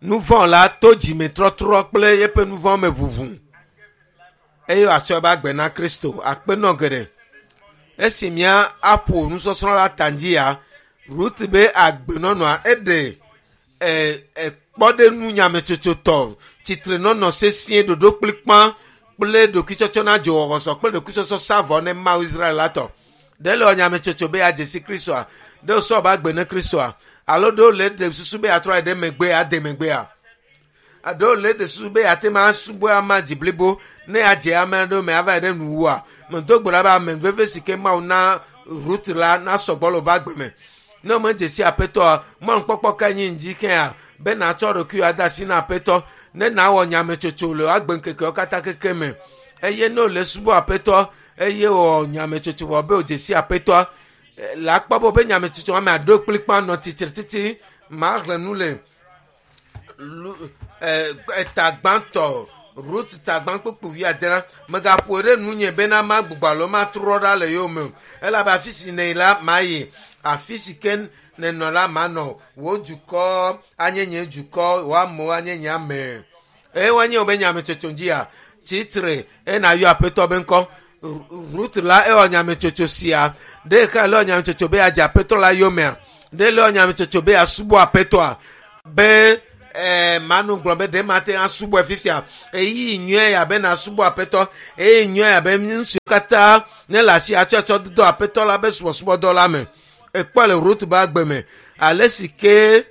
Nu vɔ̃ la to dzimetrɔtrɔ kple eƒe nu vɔ̃ me ʋuʋu eye wòatsɔ eƒe agbe na Kristo. Akpenɔ geɖe. Esi mía aƒo nusɔsrɔ̃ la ta dzia, Ruth be agbenɔnɔa eɖe kpɔɖeŋu nyametsotsotɔ, tsitrenɔnɔ sesĩe, ɖoɖo kplikpã kple ɖokuitsɔtsɔ na dzowɔwɔsɔ kple ɖokuitsɔtsɔ sa vɔ ne Mawu Israel la tɔ. Ɖe le wɔ nyametsotso be yeadze si Kristoa? Ɖe wòsɔ eƒe agbe ne Kristoa? Alo ɖe wòle ɖe susu be yeatrɔ ayi ɖe megbe ade megbea? Ɖe wòle ɖe susu be yeate ŋu asubɔ ama dzi blibo ne yeadze ame aɖewo me ava yi ɖe nuwua? Medo gbe ɖa be ame veve si ke Mawu na Rut la nasɔ gbɔ le woƒe agbe me. Ne womedze si Aƒetɔa, mɔnukpɔkpɔ kae nye ŋdi kea be nàtsɔ ɖokuiwò ade asi na Aƒetɔ ne nàwɔ nyametsotso le wò agbeŋkekewo katã keke me. Eye ne wòle subɔ Aƒetɔ eye wòwɔ nyametsotso vɔ be wòdze si Aƒetɔa, le akpɔ be woƒe nyametsotso ame aɖo kplikpa nɔ tsitre titi maxlẽ nu le eta gbãtɔ Rut ta gbã kpukpu wuiadrea megaƒoe ɖe nunye bena magbugbɔ alo matrɔ ɖa le yowòme o elabe afi si nèyi la mayi afi si ke nènɔ la manɔ wò dukɔ anye nye dukɔ wò amewo anye nye ame eye woanye wobe nyametsotso dzia tsitre eye nàyɔ aƒetɔ be ŋkɔ Rut la ewɔ nyametsotso sia ɖe ke le nyametsotso be yeadze aƒetɔ la yomea ɖe le nyametsotso be yeasubɔ aƒetɔa be manu gblɔ be ɖe mate ŋu asubɔe fifia eyi nyuie ya be nasubɔ aƒetɔ eyi nyuie ya be ŋutsu katã ne le asi atsɔtsɔ dodo aƒetɔ la be subɔsubɔdɔ la me ekpɔ le Rut be agbe me ale si ke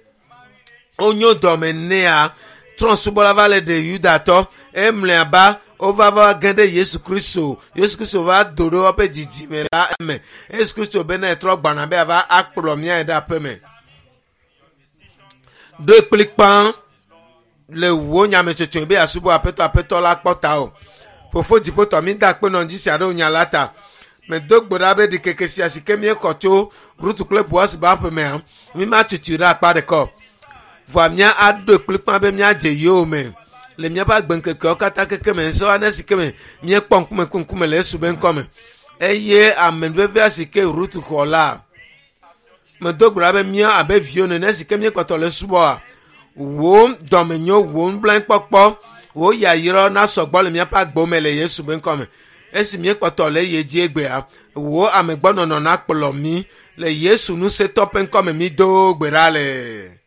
wonyo dɔme nea trɔ̃subɔla va le ɖe yudatɔ emlɔeba wova va ge ɖe Yesu Kristo Yesu Kristo va do ɖe woƒe dzidzime la eme Yesu Kristo bena etrɔ gbɔna be ava akplɔ mía ɖe aƒe me ɖoe kplikpã le wò nyametsotso be yeasubɔ aƒetɔ aƒetɔ la kpɔ ta o fofo dziƒotɔ mi da akpe nɔ ŋdzi sia ɖe nya la ta medo gbe ɖa be ɖikeke sia si ke míexɔ tso Rutu kple Boaz be aƒemea mi ma tutui ɖe akpa ɖeka o vɔa mía aɖoe kplikpã be míadze yewo me le míaƒe agbeŋkekewo katã keke me sɔ ane si ke me míekpɔ ŋkume ku ŋkume le Yesu be ŋkɔ me eye ame vevia si ke Rutu xɔ la medo gbe ɖa be mía abe viwo nene si ke míekpɔtɔ le subɔa wò dɔmenyo wò nublanuikpɔkpɔ wò yayra nasɔ gbɔ le míaƒe agbewo me le Yesu be ŋkɔ me esi míekpɔtɔ le eye dzi egbea wò amegbɔnɔnɔ nakplɔ mí le Yesu ŋusẽtɔ ƒe ŋkɔ me mído gbe ɖa le.